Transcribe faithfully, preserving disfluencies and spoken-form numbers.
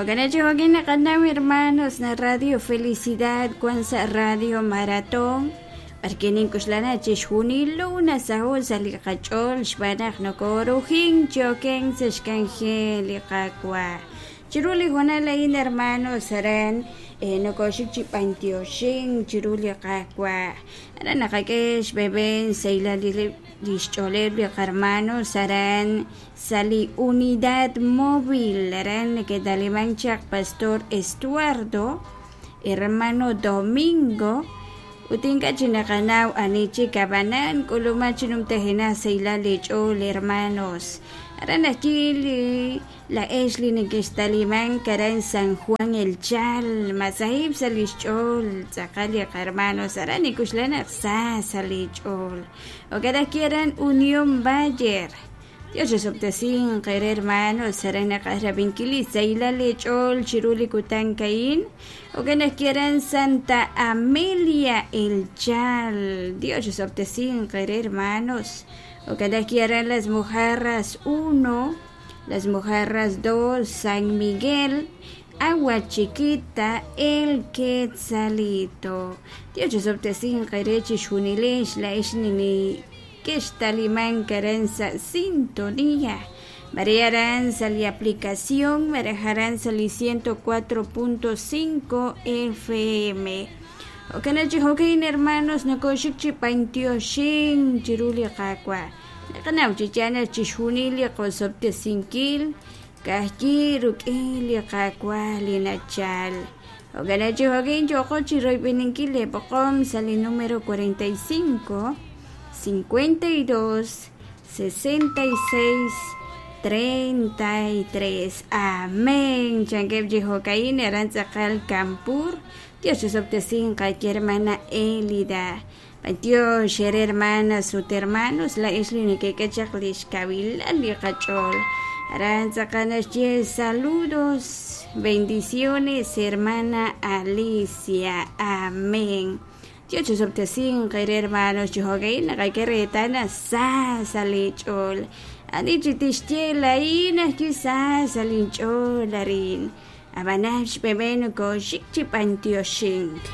Jo'kan chi jo'kin naqanaw hermanos na Radio Felicidad wan sa Radio Maratón b'arkin ink'uxlana chixjunilo nasaho' sa' li qach'ool xb'aan naq nokorujin choken sa' xk'anjel li Qaawa' chiru li hoonal a'in hermanos aran eh, nokoxik chi b'antioxin chiru li Qaawa' aran naqak'e xb'eben saylal li xch'ooleb' li qarmanos aran sa' li unidad móvil aran neke'taliman chaq Pastor Estuardo hermano Domingo ut ink'a' chi naqanaw ani chik ab'anan k'uluma chi numtajenaq saylal li ch'ool hermanos aran ajwi' li la'ex li neke'xtaliman aran San Juan El Chal masahib' sa' li xch'ool tz'aqal li qarmanos aran nik'uxlan naq sa sa' li ch'ool jo'kan ajwi' aran Unión Bayer Dios chixob'tesinq qere hermanos aran naqaj rab'inkil li saylal li ch'ool chiru li kutan ka'in jo'kan ajwi' aran Santa Amelia El Chal Dios chixob'tesinq qere hermanos jo'kan ajwi' aran Las Mojarras uno Las Mojarras dos San Miguel Agua Chiquita El Quetzalito Dios chixob'tesinq qere chixjunilex la'ex nini kextaliman aran sa' sintonía María aran sa li aplicación Marajaran sa li ciento cuatro punto cinco F M jo'kan chi jo'kin hermanos nokoxik chi b'antioxin chiru li Qaawa' naqanaw chi yaal chixjunil li qosob'tesinkil ka'ajwi' ruk'in li Qaawa' li nachal jo'kan chi jo'kin yo'qo chi royb'eninkil li b'oqom sa' li número cuarenta y cinco cincuenta y dos sesenta y seis treinta y tres. Amén. Chankeb chi jo'ka'in aran tz'aqal Campur. Dios chixob'tesinq qaki hermana Elida. B'antiox ere hermanas ut hermanos la'ex li neke'k'e chaq li xkawilal li qach'ool. Aran tz'aqal naxye saludos, bendiciones, hermana Alicia. Amén. Dios chixob'tesinq ere hermanos chi jo'ka'in naqak'e reetal sa sa' li ch'ool. Ani chi tixye la'in ajwi' sa sa' linch'ool arin. Ab'anan xb'eben nokoxik chi b'antioxink.